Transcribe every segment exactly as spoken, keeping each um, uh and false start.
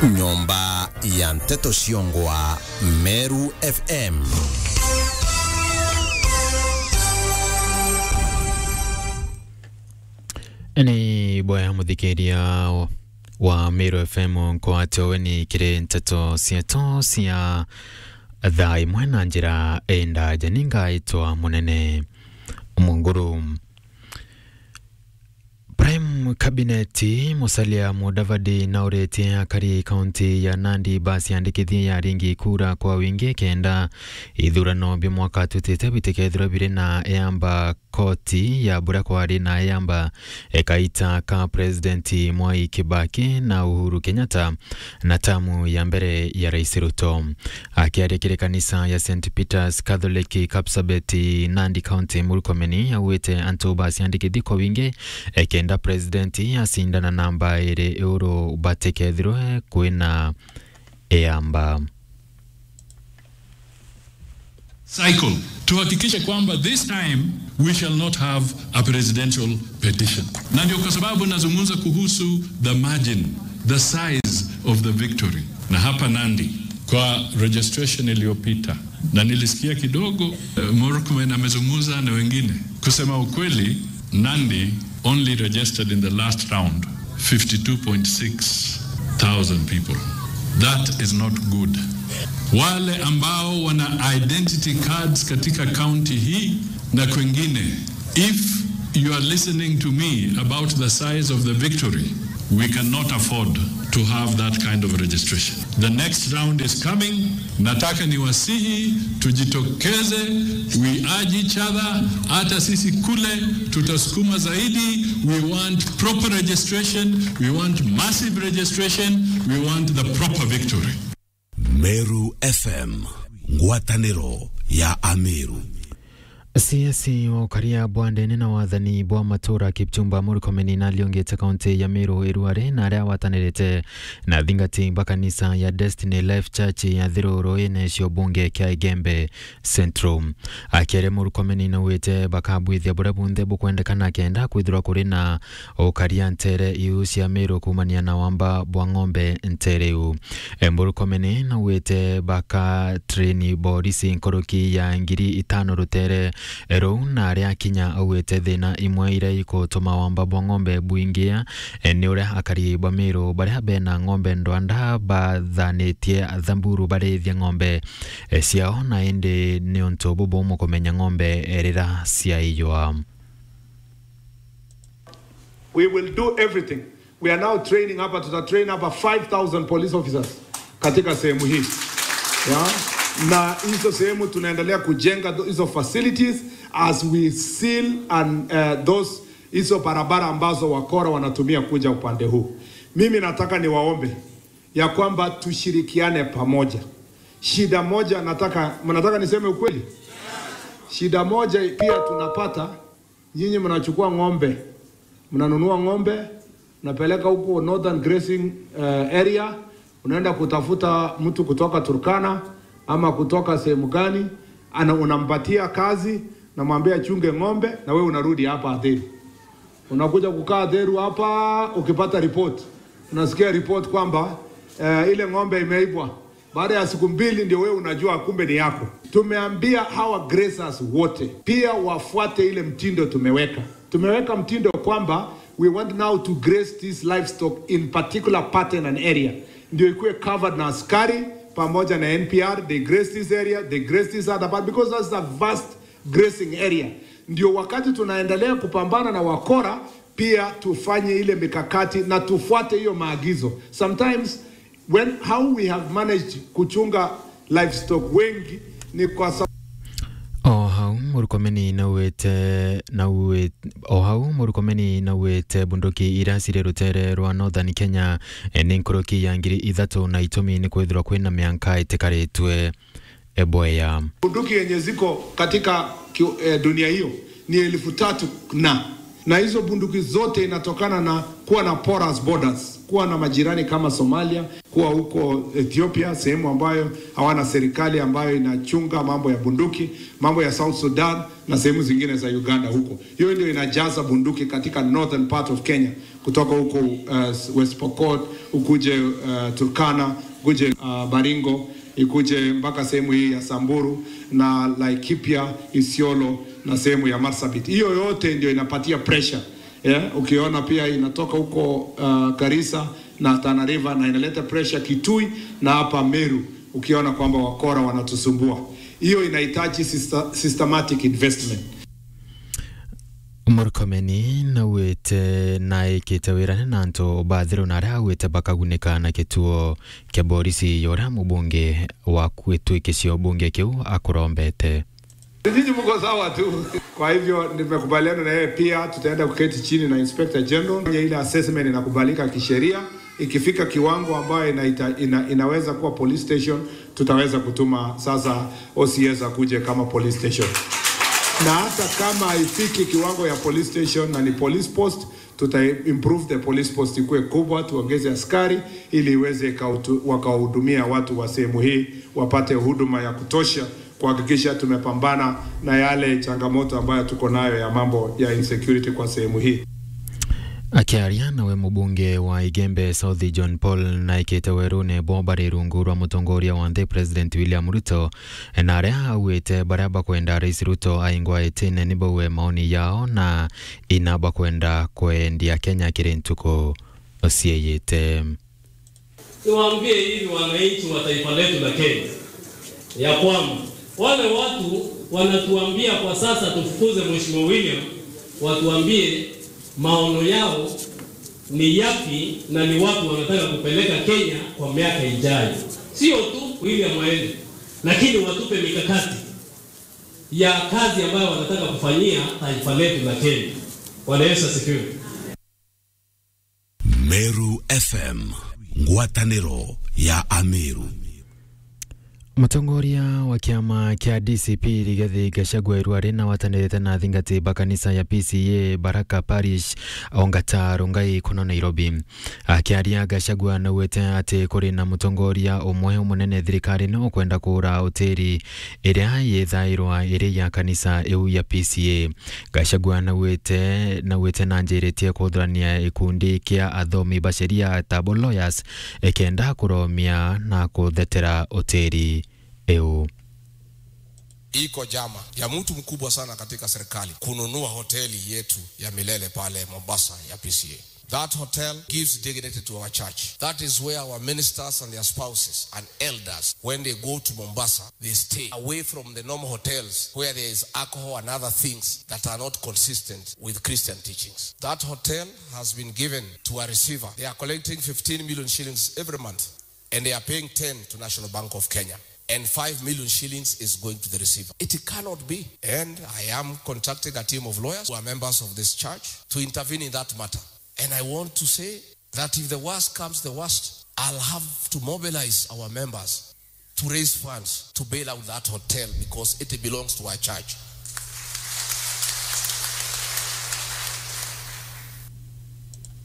Nyomba ya nteto ciongwa Meru F M. Ni bwega muthikiria wa Meru F M nkwate ugeni kiri nteto cietu cia thaa imwe na njira indaja. Ni ngaitwa Munene Munguru. Prime Cabinet, Musalia Mudavadi nauritie akari kaunti ya Nandi baciandikithie ya ringi kura kwa wingi kenda ithurano bia mwaka tutite bitikethirwa biri na eamba koti ya buria kwari na eamba ekaita ka President Mwai Kibaki na Uhuru Kenyatta na tamu ya mbere ya Rais Ruto. Akiaria kiri kanisa ya Saint Peter's Catholic Kapsabet, Nandi County, Murkomen augite antu baciandikithie kwa wingi, e, kenda president acindana namba iri iguru batikethirwe kwina eamba. Cycle. Tuhakikishe kwamba this time we shall not have a presidential petition. Na ndio kwa sababu nazungumza kuhusu the margin, the size of the victory. Na hapa Nandi, kwa registration iliyopita, na nilisikia kidogo, eh, Murkomen amezungumza na wengine. Kusema ukweli, Nandi only registered in the last round fifty-two point six thousand people. That is not good. Wale ambao wana identity cards katika county hii na kwengine, if you are listening to me about the size of the victory, we cannot afford to have that kind of registration. The next round is coming. Nataka niwasihi tujitokeze, we urge each other, hata sisi kule tutasukuma zaidi. We want proper registration, we want massive registration, we want the proper victory. Meru F M, ngwataniro ya Ameru. C S wa ukaria bwa ndene na wathani bwa matura Kipchumba Murkomen nariongete kaunti ya Meru iruari na aria awatanirite na athingati ba kanisa ya Destiny Life Church ya Thiru ruine cio bunge kia Igembe Central. Akiaria Murkomen naugite bakabwithia buria bunthe bukwendekana kenda kwithirwa kuri na ukaria ntere iu cia Meru kuumania na wamba bwa ng'ombe ntere iu. E, Murkomen naugite baka train borisi nkuruki ya ngiri itano rutere ruu, na aria akinya augite thina imwe iria ikutuma wamba bwa ng'ombe bwingia, e, ni uria akari ba Meru baria bena ng'ombe ndwanda bathanitie Thamburu barithie ng'ombe, e, ciao, na indi ni untu bubumu kumenya ng'ombe, e, riria ciaiywa. We will do everything. We are now training hapa, tuta train hapa five thousand police officers katika sehemu hii. Yeah? Na hizo sehemu tunaendelea kujenga tho-, hizo facilities as we seal and, uh, those, hizo barabara ambazo wakora wanatumia kuja upande huu. Mimi nataka niwaombe ya kwamba tushirikiane pamoja. Shida moja nataka, mnataka niseme ukweli? Shida moja pia tunapata, nyinyi mnachukua ng'ombe, mnanunua ng'ombe, mnapeleka huko Northern Grazing, eh, Area, unaenda kutafuta mtu kutoka Turkana ama kutoka sehemu gani, ana-, unampatia kazi, namwambia achunge ng'ombe, na wewe unarudi hapa Athiri. Unakuja kukaa Athiri hapa, ukipata report, unasikia report kwamba, eh, ile ng'ombe imeibwa. Baada ya siku mbili ndio wewe unajua kumbe ni yako. Tumeambia hawa grazers wote pia wafuate ile mtindo tumeweka. Tumeweka mtindo kwamba we want now to graze this livestock in particular pattern and area. Ndio ikuwe covered na askari pamoja na N P R, they graze this area, they graze this other part, because that's a vast grazing area. Ndio wakati tunaendelea kupambana na wakora, pia tufanye ile mikakati na tufuate hiyo maagizo. Sometimes, when, how we have managed kuchunga livestock wengi ni kwa sa- O hau, Murkomen naugite, naugite, o hau, Murkomen naugite bunduki iria ciri rutere rwa Northern Kenya, e, ni nkuruki ya ngiri ithatu na itumi ni kwithirwa kwina mianka itikaritwe, e, bwea. Bunduki yenye ziko katika ki-, eh, dunia hiyo ni elfu tatu na, na hizo bunduki zote inatokana na kuwa na porous borders, kuwa na majirani kama Somalia, kuwa huko Ethiopia, sehemu ambayo hawana serikali ambayo inachunga mambo ya bunduki, mambo ya South Sudan na sehemu zingine za Uganda huko. Hiyo ndio inajaza bunduki katika northern part of Kenya. Kutoka huko, uh, West Pokot, ukuje, uh, Turkana, ukuje, uh, Baringo, ikuje mpaka sehemu hii ya Samburu na Laikipia, Isiolo na sehemu ya Marsabit. Hiyo yote ndio inapatia pressure. Yeah, ukiona pia inatoka huko, uh, Garissa na Tana River na inaleta pressure Kitui na hapa Meru, ukiona kwamba wakora wanatusumbua. Hiyo inahitaji systa-, systematic investment. Murkomen naugite naikite wirane na antu bathiru na aria augite bakagunika na kituo kia borisi ya uria mubunge wa gwituikicio bunge kiu akurombete. Nyinyi mko sawa tu. Kwa hivyo nimekubaliana na yeye pia, tutaenda kuketi chini na Inspector General. Ile assessment inakubalika kisheria. Ikifika kiwango ambayo inaita-, ina-, inaweza kuwa police station, tutaweza kutuma sasa O C S akuje kama police station. Na hata kama haifiki kiwango ya police station na ni police post, tuta improve the police post ikuwe kubwa, tuongeze askari ili iweze ikautu-, wakahudumia watu wa sehemu hii wapate huduma ya kutosha, kuhakikisha tumepambana na yale changamoto ambayo tuko nayo ya mambo ya insecurity kwa sehemu hii. Akiaria nawe mubunge wa Igembe South John Paul naikite werune bo bari rungu rwa mutongoria wa nthi President William Ruto, na aria augite baria bakwenda Rais Ruto aingwa itine ni bauwe maoni yao na ina bakwenda kwendia Kenya kiri ntuku cieyite. Niwaambie hivi wananchi wa taifa letu la Kenya, ya kwamba wale watu wanatuambia kwa sasa tufukuze Mheshimiwa William, watuambie maono yao ni yapi na ni wapi wanataka kupeleka Kenya kwa miaka ijayo. Sio tu William aende, lakini watupe mikakati ya kazi ambayo wanataka kufanyia taifa letu la Kenya. Bwana Yesu asifiwe. Meru F M, ngwataniro ya Ameru. Mutongoria wa kiama kia D C P Rigathi Gachagua irua rina watanirite na athingati ba kanisa ya P C A Baraka Parish Ongata Rongai kuno Nairobi. Akiaria, Gachagua naugite ati kuri na mutongoria umwe umunene thirikari ni ukwenda kuura utiri iria yithairwa iri ya kanisa iu ya P C A. Gachagua naugite, naugite na njiritie kuthurania gikundi kia athomi ba sheria, tabo lawyers, ikenda kuromia na kuthetera utiri iu. Iko jama ya mtu mkubwa sana katika serikali kununua hoteli yetu ya milele pale Mombasa ya P C A. That hotel gives dignity to our church. That is where our ministers and their spouses and elders, when they go to Mombasa, they stay away from the normal hotels where there is alcohol and other things that are not consistent with Christian teachings. That hotel has been given to a receiver. They are collecting fifteen million shillings every month. And they are paying ten to National Bank of Kenya. And five million shillings is going to the receiver. It cannot be. And I am contacting a team of lawyers who are members of this church to intervene in that matter. And I want to say that if the worst comes the worst, I'll have to mobilize our members to raise funds to bail out that hotel because it belongs to our church.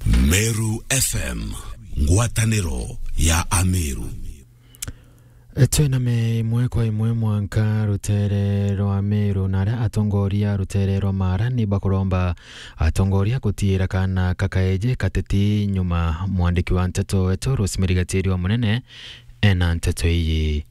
Meru F M, ngwataniro ya Ameru. Twiname imwe kwa imwe mwanka rutere rwa Meru na aria atongoria rutere rwa Mara ni bakuromba atongoria gutiira kana kakaeje kateti nyuma. Mwandiki wa nteto wetu Rosemary Gachiri wa Munene ena nteto iyi.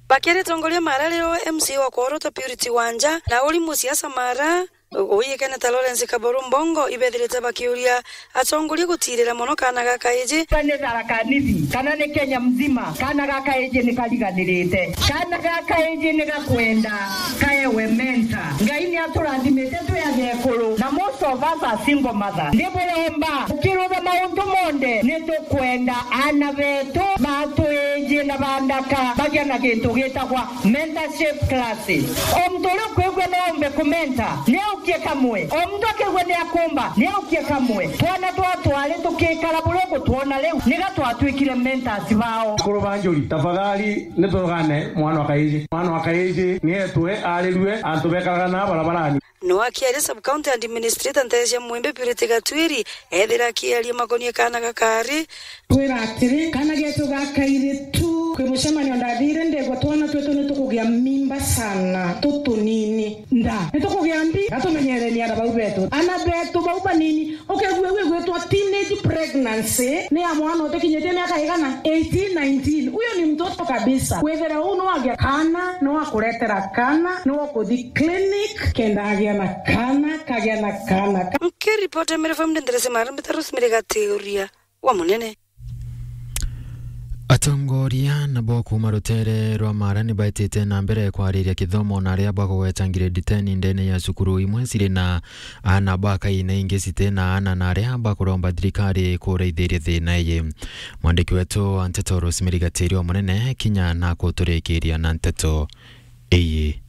Bakiaria atongoria Mara rio M C A wa Kworota Purity Wanja na uri musiasa Mara, uyikene ta Lawrence Kaboru Mbongo, ibethirite bakiuria atongoria gutirira mono kana ga kaiji. Ni Tharaka Nithi, kana ni Kenya mzima, kana ga kaiji ni kariganirite. Kana ga kaiji ni gakwenda kaewe mentor. Ngai ni aturathimite twi agekuru, na most of us are single mother. Ndiburomba, ukirutha maundu monthe, ni tukwenda ana betu batwiji na bandaka bagia na gintu gitagwa mentorship classes. O muntu uria ukwigua no ombe kumenta, ni aukie kamwe. O muntu akigua ni akumba, ni aukie kamwe. Twana twa twari tukikara buria ugutwona riu, niga twatwikire mentors bao. Akuru ba njuri, tafadhali, ni turugane mwana wa kaiji. Mwana wa kaiji ni etwe arirue antu bekaraga na barabarani. No akiaria sub-county administrator Ntecia Mwimbi Purity Gatwiri, ethira akiaria makonie kana ga kairi. Twira atiri, kana getu ga kairi tu Kwi mucemanio ndathire, ndegwa twana twetu ni tukugia mimba sana, tutunini. Nda, ni tukugia mbi, gatumenyereni ana bau betu. Ana betu bau banini, ukegua iu igwitwa teenage pregnancy, ni ya mwana utikinyitie miaka igana? Eighteen, nineteen. Huyo ni mtoto kabisa. Withira uu ni wagia kana, ni wa kuretera kana, ni wa kuthi clinic, kenda agia na kana, kagia na kana. Nkiripota Meru F M, ndenderese marambita Rosemary Gatiuria wa Munene. Atongoria nabo kuuma rutere rwa Mara ni baitite na mbere kwariria kithomo na aria bakugweta grade ten ndene ya cukuru imwe ciri na ana ba kaina ingi citi na ana na aria bakuromba thirikari kuraithiria thina iyi. Mwandiki wetu wa nteto Rosemary Gatiuria wa Munene kinya na kuturikiria na nteto iyi.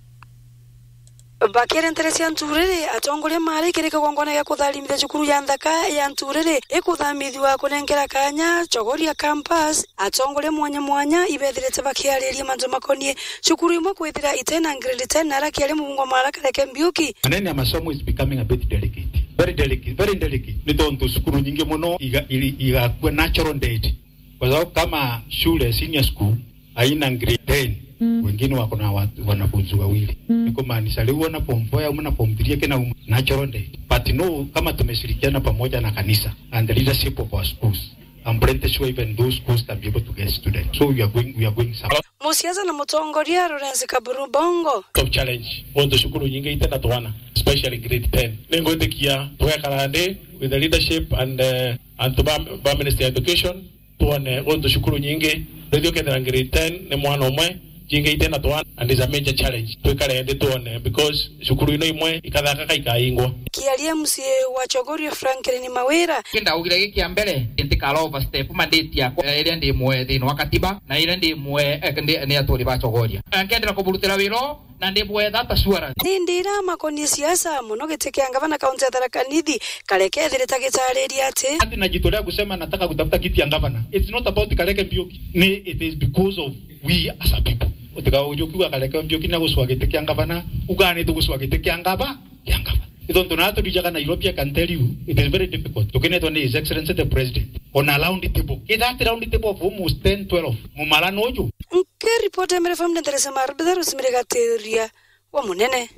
Bakiaria ntere cia Nturiri, atongoria mari kiri kigongona gia kutharimithia cukuru ya nthaka ya Nturiri ikuthamithua kunengera kanya Chogoria campus. Atongoria mwanya mwanya ibethirite bakiariria mantu makonie cukuru imwe kwithira itena grade ten, na aria kiari mubunge wa Mara Kareke Mbiuki. Maneno ya masomo is becoming a bit delicate. Very delicate, very delicate. Ni tontu cukuru nyingi muno iga-, iri-, igakua natural death. Kwa sababu kama shule, senior school, haina grade ten, wengine wako na watu, wanafunzi wawili. Ni kumaanisha leo wana form four au na form three kina um-, natural death. But no, kama tumeshirikiana pamoja na kanisa and the leadership of our schools, I'm pretty sure even those schools can be able to get students. So we are going, we are going somewhere. Musiasa na mutongoria Lawrence Kaburu Bongo. Top challenge. Muntu cukuru nyingi itena twana, especially grade ten. Ningwitikia twekara ndi with the leadership and, uh, antu ba, ba Ministry of Education, twone guntu cukuru nyingi, rithio kethira grade ten ni mwana umwe, jingi itena twana, and is a major challenge. Twikare nthi twone, because cukuru ino imwe ikathaka kaikaingwa. Kiaria M C A wa Chogoria Franklin Mawira. Kindaugire giki kia mbere, ntikara overstep mandate yakwa, eh, iria ndi mwe thiini wa katiba, na iria ndi mwe, eh, ndi, ni aturi ba Chogoria. Eh, nkendera kuburutira wira na ndi bwetha ta assurance. Ni ndira makonie siasa, mono giti kia ngavana kaunti ya Tharaka Nithi, Kareke ethirite agitariria ati. Ati na jitu ria kusema nataka kutafuta kiti ya ngavana, it's not about Kareke Mbiuki. Ni, it is because of we as a people. Utika uju kiuga Kareke Mbiuki ni aguswa giti kia ngavana, uga ni tuguswa giti kia ngava, kia ngava. Ni tontu na turijaga Nairobi, I can tell you, it is very difficult. Tukinetwa ni His Excellency the President on a round table. Is that round table of almost ten, twelve? Mumara nuju. Nkiripota Meru F M, ndenderese marubitha Rosemary Gatiuria wa Munene.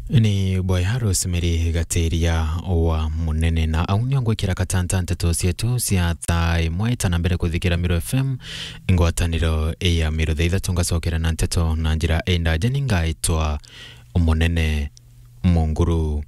Ni bwega Rosemary Gatiria wa Munene, na au nio ngwikira katanta nteto cietu cia thaa imwe itana mbere kuthikira Meru F M, ngwataniro ya Meru. Thaa ithatu ngacokera na nteto na njira indaja, ni ngaitwa Munene Munguru.